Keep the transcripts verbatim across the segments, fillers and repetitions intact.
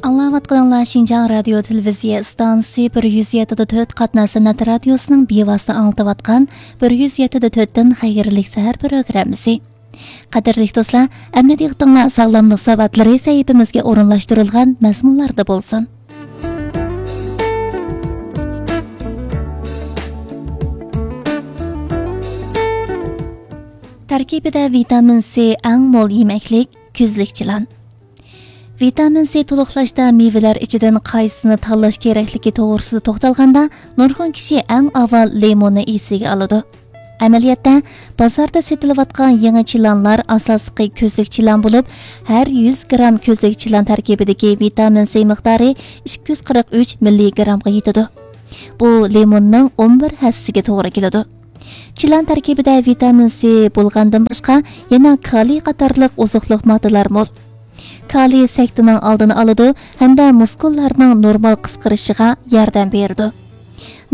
ئاڭلاۋاتقىنىڭلار شىنجاڭ رادىيو تېلېۋىزىيە ئىستانسىسى بىر يۈز يەتتە دە تۆت قاتناش سەنئەت رادىيوسىنىڭ بىۋاسىتە ئاڭلىتىۋاتقان بىر يۈز يەتتە دە تۆتتىن خەيرلىك سەھەر پروگراممىسى. قەدىرلىك دوستلار، ئەمدى دىققىتىڭلار ساغلاملىق ساۋاتلىرى سەھىپىمىزگە ئورۇنلاشتۇرۇلغان مەزمۇنلاردا بولسۇن. تەركىبىدە ۋىتامىن سى ئەڭ مول يېمەكلىك، كۈزلۈك چىلان. ۋىتامىن سى تولۇقلاشتا مېۋىلەر ئىچىدىن قايسىسىنى تاللاش كېرەكلىكى توغرىسىدا توختالغاندا، نۇرغۇن كىشى ئەڭ ئاۋۋال لىموننى ئېسىگە ئالىدۇ. ئەمەلىيەتتە، بازاردا سېتىلىۋاتقان يېڭى چىلانلار ئاساسلىقى كۈزلۈك چىلان بولۇپ، ھەر يۈز گرام كۈزلۈك چىلان تەركىبىدىكى ۋىتامىن سى مىقدارى ئىككى يۈز قىرىق ئۈچ مىللىگرامغا يېتىدۇ. بۇ لىموننىڭ ئون بىر ھەسسىسىگە توغرا كېلىدۇ. چىلان تەركىبىدە ۋىتامىن سى بولغاندىن باشقا، يەنە كالىي قاتارلىق ئوزۇقلۇق ماددىلار مول. كالىي سەكتىنىڭ ئالدىنى ئالىدۇ ھەمدە مۇسكۇللارنىڭ نورمال قىسقىرىشىغا ياردەم بېرىدۇ.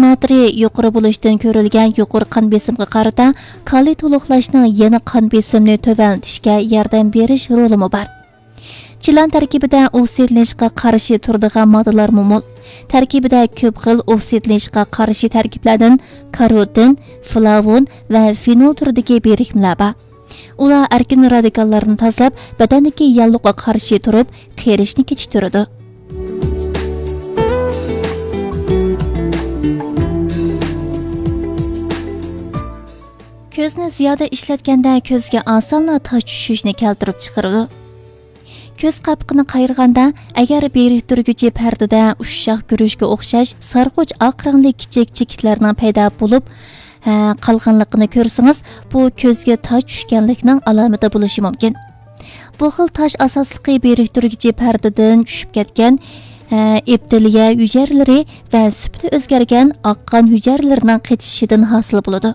ناترىي يۇقىرى بولۇشتىن كۆرۈلگەن يۇقىرى قان بېسىمغا قارىتا، كالىي تولۇقلاشنىڭ يەنە قان بېسىمىنى تۆۋەنلىتىشكە ياردەم بېرىش رولىمۇ بار. چىلان تەركىبىدە ئوكسىدلىنىشقا قارشى تۇرىدىغان ماددىلارمۇ مول. تەركىبىدە كۆپ خىل ئوكسىدلىنىشقا قارشى تەركىبلەردىن كاروتىن، فلاۋون ۋە فېنول تۈرىدىكى بىرىكمىلەر بار. ئۇلار ئەركىن رادىكاللارنى تازىلاپ، بەدەندىكى ياللۇغىغا قارشى تۇرۇپ، قېرىشنى كېچىكتۈرىدۇ. كۆزنى زىيادە ئىشلەتكەندە، كۆزگە ئاسانلا تاش چۈشۈشنى كەلتۈرۈپ چىقىرىدۇ. كۆز قاپىقىنى قايرىغاندا، ئەگەر بىرىكتۈرگۈچى پەردىدە ئۇششاق گۈرۈچكە ئوخشاش سارغۇچ ئاق رەڭلىك كىچىك چېكىتلەرنىڭ پەيدا بولۇپ، ھە، قالغانلىقىنى كۆرسىڭىز، بۇ كۆزگە تاش چۈشكەنلىكنىڭ ئالامىتى بولۇشى مۇمكىن. بۇ خىل تاش ئاساسلىقى بىرىكتۈرگۈچى پەردىدىن چۈشۈپ كەتكەن، ھە، ئېپتېلىيە ھۈجەيرىلىرى ۋە سۈپىتى ئۆزگەرگەن ئاق قان ھۈجەيرىلىرىنىڭ قېتىشىشىدىن ھاسىل بولىدۇ.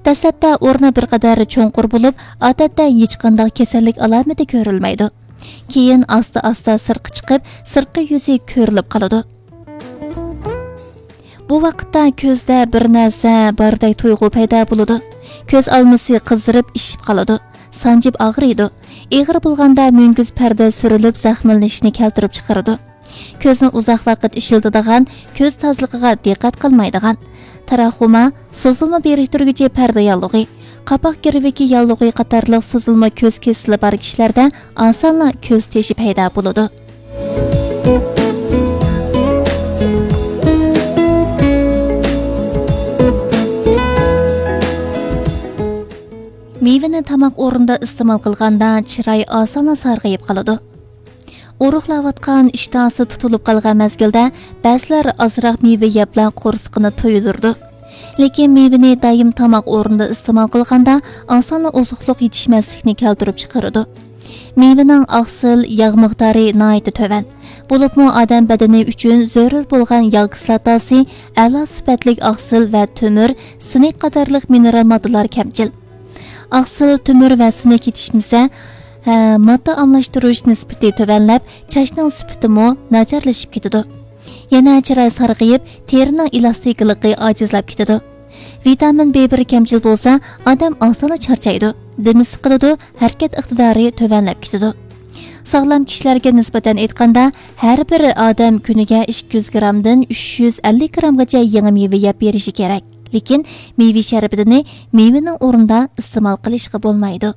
دەسلەپتە ئورنى بىر قەدەر چوڭقۇر بولۇپ، ئادەتتە ھېچقانداق كېسەللىك ئالامىتى كۆرۈلمەيدۇ. كېيىن ئاستا-ئاستا سىرتقا چىقىپ، سىرتقى يۈزى كۆرۈلۈپ قالىدۇ. بۇ ۋاقىتتا كۆزدە بىر نەرسە باردەك تۇيغۇ پەيدا بولىدۇ. كۆز ئالمىسى قىزىرىپ ئىششىپ قالىدۇ. سانجىپ ئاغرىيدۇ. ئېغىر بولغاندا مۈڭگۈز پەردە سۈرۈلۈپ زەخىملىنىشنى كەلتۈرۈپ چىقىرىدۇ. كۆزنى ئۇزاق ۋاقىت ئىشلىتىدىغان، كۆز تازىلىقىغا دىققەت قىلمايدىغان، تراخوما، سوزۇلما بىرىكتۈرگۈچى پەردە ياللۇغى، قاپاق گىرۋىكى ياللۇغى قاتارلىق سوزۇلما كۆز كېسىلى بار كىشىلەردە ئاسانلا كۆز تېشى پەيدا بولىدۇ. مېۋىنى تاماق ئورنىدا ئىستېمال قىلغاندا، چىراي ئاسانلا سارغىيىپ قالىدۇ. ئورۇقلاۋاتقان، ئىشتىھاسى تۇتۇلۇپ قالغان مەزگىلدە بەزىلەر ئازراق مېۋە يەپلا قورسىقىنى تويدۇرىدۇ. لېكىن مېۋىنى دائىم تاماق ئورنىدا ئىستېمال قىلغاندا، ئاسانلا ئوزۇقلۇق يېتىشمەسلىكنى كەلتۈرۈپ چىقىرىدۇ. مېۋىنىڭ ئاقسىل، ياغ مىقدارى ناھايىتى تۆۋەن. بولۇپمۇ ئادەم بەدىنى ئۈچۈن زۆرۈر بولغان ياغ كىسلاتاسى، ئەلا سۈپەتلىك ئاقسىل ۋە تۆمۈر، سىنك قاتارلىق مىنېرال ماددىلار كەمچىل. ئاقسىل، تۆمۈر ۋە سىنك يېتىشمىسە، ھە، ماددا ئالماشتۇرۇش نىسبىتى تۆۋەنلەپ، چاچنىڭ سۈپىتىمۇ ناچارلىشىپ كېتىدۇ. يەنە چىراي سارغىيىپ، تېرىنىڭ ئېلاستىكىلىقى ئاجىزلاپ كېتىدۇ. ۋىتامىن بى بىر كەمچىل بولسا، ئادەم ئاسانلا چارچايدۇ، دېمى سىقىلىدۇ، ھەرىكەت ئىقتىدارى تۆۋەنلەپ كېتىدۇ. ساغلام كىشىلەرگە نىسبەتەن ئېيتقاندا، ھەر بىر ئادەم كۈنىگە ئىككى يۈز گرامدىن ئۈچ يۈز ئەللىك گرامغىچە يېڭى مېۋە يەپ بېرىشى كېرەك. لېكىن مېۋە شەربىتىنى مېۋىنىڭ ئورنىدا ئىستېمال قىلىشقا بولمايدۇ.